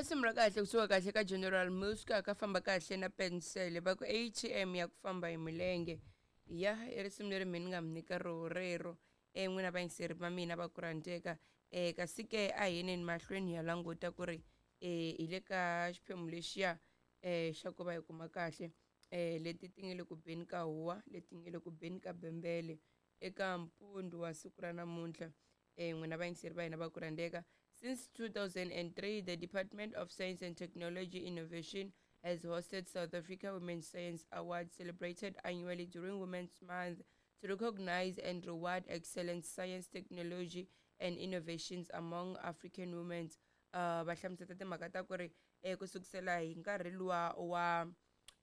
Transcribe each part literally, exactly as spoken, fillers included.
Risimu ra kahle kusuka kahle ka General Muska ka famba kahle na pensele va ku A T M ya ku famba hi milenge ya i risimu leri mi ni nga mi nyika roho rero e n'wina vayingiseri va mina va ku rhandzeka um kasi ke a hi yeneni mahlweni ya languta ku ri um hi le ka xiphemu lexiya um xa ku va hi kuma kahle um leti ti nga le ku beni ka huwa leti nga le ku beni ka bembele eka mpundzu wa siku ra namuntlha um n'wina vayingiseri va hina va ku rhandzeka. Since two thousand three, the Department of Science and Technology Innovation has hosted South Africa Women's Science Awards, celebrated annually during Women's Month to recognize and reward excellent science, technology, and innovations among African women. Uh, va hlamusela timhaka ta ku ri eh, ku sukusela hi nkarhi luwa wa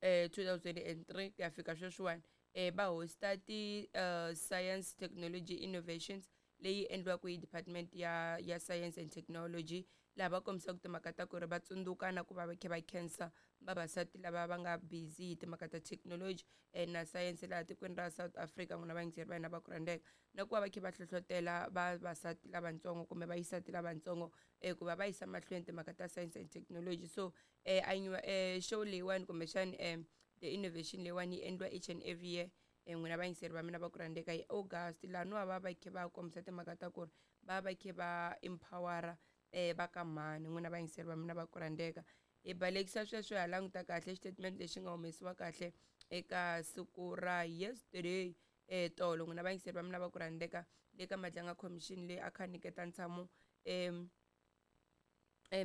eh, two thousand three ku ya fika sweswiwani eh, va hosta ti uh, science, technology, innovations leyi endliwaka hi department ya ya science and technology, laha va kombisaka timhaka ta ku ri va tsundzuka na ku va va kha va khensa vavasati lava va nga busy hi timhaka ta technology na science laha tikweni ra South Africa. N'wina vayingiseri va hina va ku rhandzeka na ku va va kha va hlohlotela vavasati lavatsongo kumbe vayisati lavatsongo ku va va yisa mahlweni timhaka ta science and technology. So eh eh show leyiwani kumbexani eh the innovation leyiwani yi endliwa each and every year. N'wina vayingiseri va mina va ku rhandzeka hi August laha no va va kha va kombisa timhaka ta ku ri va va kha va empowera eh va ka mhani. N'wina vayingiseri va mina va ku rhandzeka hi balekisa sweswo ha languta kahle statement lexi nga humesiwa kahle eka siku ra yesterday eh tolo. N'wina vayingiseri va mina va ku rhandzeka le ka Madlanga Commission leyi a kha nyiketa ntshamo em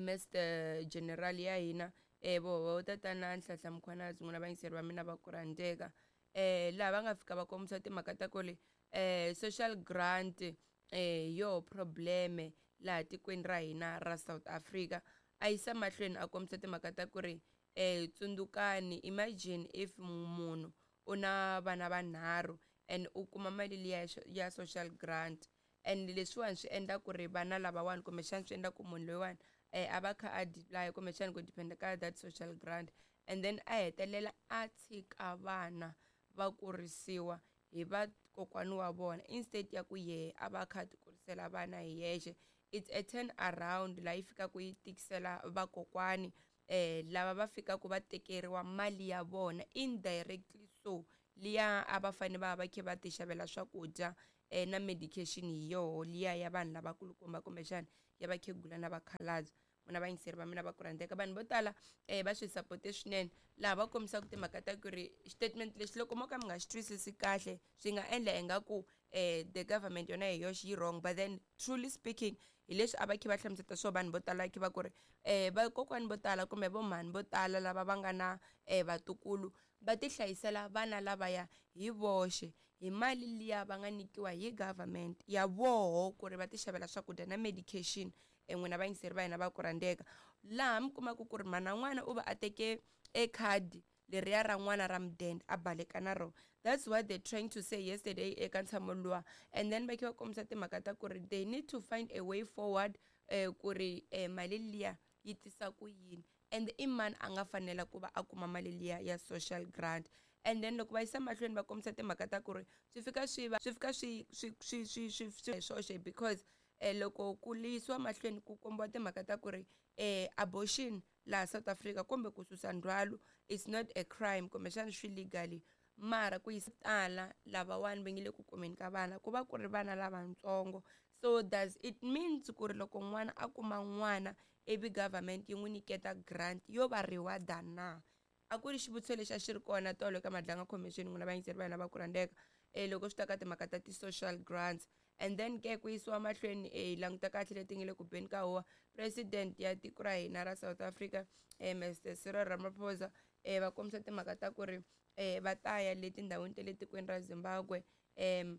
Mister General ya hina eh voho tatana Nhlanhla Mkhwanazi. N'wina vayingiseri va mina va ku rhandzeka eh laha va nga fika va kombisa timhaka ta ku ri eh social grant eh yo probleme laha tikweni ra hina ra South Africa. A yisa mahlweni a kombisa timhaka ta ku ri eh tsundzukani, imagine if munhu u na vana vanharhu and u kuma mali liya ya social grant, and leswiwani swi endla ku ri vana lavawani kumbexana swi endla ku munhu loyiwani eh a va kha a apply kumbexana ku depend ka that social grant, and then a hetelela a tshika vana va kurisiwa hi va kokwani wa vona instead ya ku yehe a va kha ti kurisela vana hi yexe. It's a turn around laha yi fikaka yi tikisela vakokwani eh lava va fikaka va tekeriwa mali ya vona indirectly, so liya a va fanele va va kha va ti xavela swakudya eh na medication hi yoho liya ya vanhu lavakulukumba kumbexana ya vakhegula na vakhalabye. N'wina vayingiseri va mina va ku rhandzeka vanhu vo tala eh va swi sapote swinene laha va kombisaka timhaka ta ku ri statement lexi loko mo ka mi nga xi twisisi kahle swi nga endla ingaku eh the government yona hi yoxe yi wrong, but then truly speaking hi leswi a va kha va hlamuseta swo vanhu vo tala kha va ku ri eh vakokwani vo tala kumbe vo mhani vo tala lava va nga na eh vatukulu va ti hlayisela vana lavaya hi voxe hi mali liya va nga nyikiwa hi government ya voho ku ri va ti xavela swakudya na medication. N'wina vayingiseri va hina va ku rhandzeka laha mi kumaka ku ri mana n'wana u va a teke e khadi leriya ra n'wana ra mudende a baleka na rona. That's what they're trying to say yesterday eka ntshamo luwa, and then va kha va kombisa timhaka ta ku ri they need to find a way forward eh ku ri eh mali liya yi tisa ku yini and i mani a nga fanela ku va a kuma mali liya ya social grant. And then loko va yisa mahlweni va kombisa timhaka ta ku ri swi fika swi va swi fika swi swi swi swi swi swi swoxe because eh loko ku yisiwa mahlweni ku kombiwa timhaka ta ku ri eh abortion laha South Africa kumbe ku susa ndzhwalo it's not a crime kumbexana swi legally, mara ku yisa tala lavawani va nge le ku kumeni ka vana ku va ku ri vana lavatsongo. So does it means ku ri loko n'wana a kuma n'wana ivi government yi n'wi nyiketa grant yo va reward-a na? A ku ri xivutiso lexi a xi ri kona tolo eka Madlanga Commission. N'wina vayingiseri va hina va ku rhandzeka eh loko swi ta ka timhaka ta ti-social grants. And then ke ku yisiwa mahlweni eh languta kahle leti nga le ku beni ka huwa president ya tiko ra hina ra South Africa eh Mister Cyril Ramaphosa eh va kombisa timhaka ta ku ri eh va ta ya le tindhawini ta le tikweni ra Zimbabwe em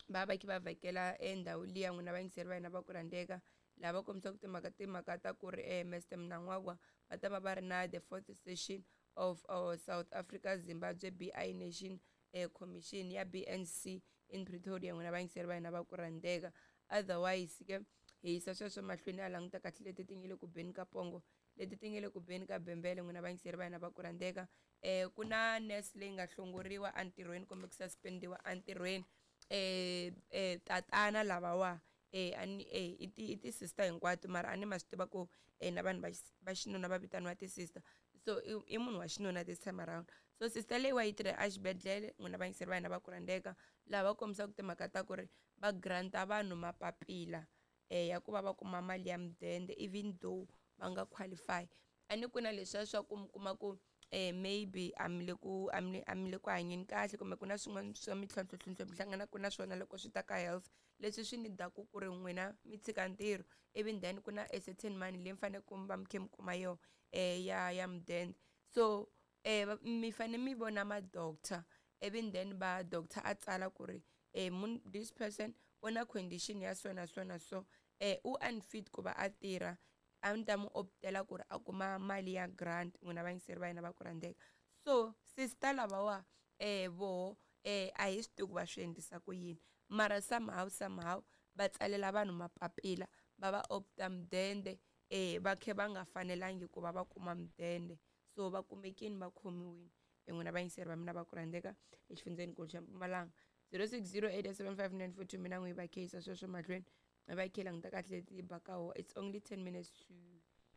va va kha va vhakela endhawu liya. N'wina vayingiseri va hina va ku rhandzeka laha va kombisaka timhaka timhaka ta ku ri eh Mister Mnangagwa va ta va va ri na the fourth session of uh, South Africa Zimbabwe B I Nation eh Commission ya B N C in Pretoria. N'wina vayingiseri va hina va ku rhandzeka. Otherwise ke hi yisa sweswo mahlweni a languta kahle leti ti nga le ku beni ka pongo leti ti nga le ku beni ka bembele. N'wina vayingiseri va hina va ku rhandzeka eh ku na nurse leyi nga hlongoriwa entirhweni kumbe ku suspendiwa entirhweni eh eh tatana lavawa eh a ni eh i ti i ti-sister hinkwato mara a ni ma swi tiva ku eh na vanhu va va xinuna va vitaniwa ti-sister so i, i munhu wa xinuna this time around so sister leyiwa yi tirha exibedhlele n'wina vayingiseri va hina va ku rhandzeka laha va kombisaka timhaka ta ku ri va granta vanhu mapapila eh ya ku va va kuma mali ya mudende even though va nga qualify a ni ku na leswiya swa ku mi kuma ku eh maybe a mi le ku a mi a mi le ku hanyeni kahle kumbe ku na swin'wana swa mintlhontlho mi hlanganaka na swona loko swi ta ka health leswi swi ni daku ku ri n'wina mi tshika ntirho even then ku na a certain money leyi mi faneleke mi va mi kha mi kuma yona eh ya ya mudende so eh mi fane mi vona ma-doctor even then va doctor a tsala ku ri eh mun this person u na condition ya so na so na so eh u unfit ku va a tirha a ni ta mu optela ku ri a kuma mali ya grant n'wina vayingiseri va hina va ku rhandzeka so sister lavawa eh voho eh a hi swi tivi ku va swi endlisa ku yini mara somehow somehow va tsalela vanhu mapapila va va opta mudende eh va khe va nga fanelangi ku va va kuma mudende so va kumekini va khomiwini n'wina vayingiseri va mina va ku rhandzeka exifundzeninkulu xa Mpumalanga zero six zero eight seven five nine four two mina n'wi va kheyisa sweswo mahlweni va khe languta kahle leti baka ho it's only ten minutes to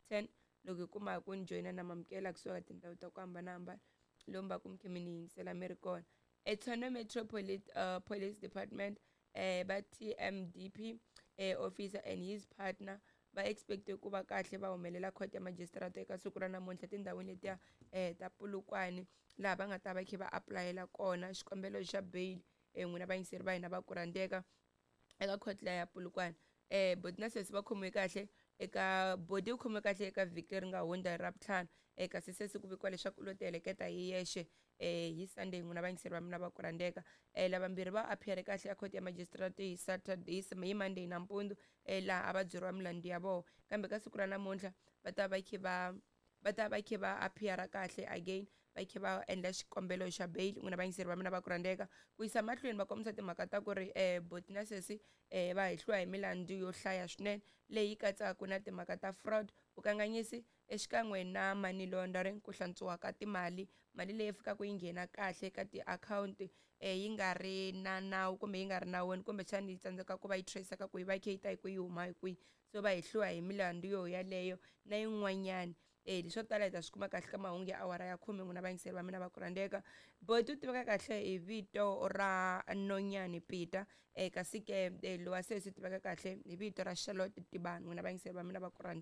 ten loko hi kuma ku ni joyina na mamukela kusuka ka tindhawu ta ku hambanahambana lomu va ku mi khe mi ni yingisela mi ri kona eTshwane Metro Police, uh, Police Department eh va T M D P eh, officer and his partner va expecte ku va kahle va humelela court ya magistrate eka siku ra namuntlha tindhawini letiya eh ta Polokwane laha va nga ta va khe va apulayela kona xikombelo xa bail eh n'wina vayingiseri va hina va ku rhandzeka eka court liya ya Polokwane eh boti na sesi va khomiwe kahle eka bodi u khomiwe kahle eka vhiki leri nga hundza hi Ravutlhanu eh kasi sesi ku vikiwa leswaku u lo ti heleketa hi yexe eh hi Sunday n'wina vayingiseri va mina va ku rhandzeka eh lavambirhi va appear kahle a court ya magistrate hi Saturday hi Monday nampundzu eh laha a va byeriwa milandzu ya vona kambe ka siku ra namuntlha va ta va khe va va ta va khe va appear kahle again va khe va endla xikombelo xa bail n'wina vayingiseri va mina va ku rhandzeka ku yisa mahlweni va kombisa timhaka ta ku ri um boti na sesi um va hehliwa hi milandzu yo hlaya swinene leyi katsaka na timhaka ta fraud vukanganyisi exikan'we na money laundering ku hlantswiwa ka timali mali leyi fikaka yi nghena kahle ka tiakhawunti um yi nga ri na nawu kumbe yi nga ri nawini kumbexana yi tsandzeka ku va yi trace-eka ku yi va yi kha yi ta hi kwihi yi huma hi kwihi so va hehliwa hi milandzu yo yaleyo na yin'wanyani eh leswo tala hi ta swi kuma kahle ka mahungu ya awara ya khume n'wina vayingiseri va mina va ku rhandzeka boti u tiveka kahle hi vito ra Nonyani Peter eh kasi ke eh, lowa sesi u tiveka kahle hi vito ra Charlotte Tibani n'wina vayingiseri va mina va ku rhandzeka.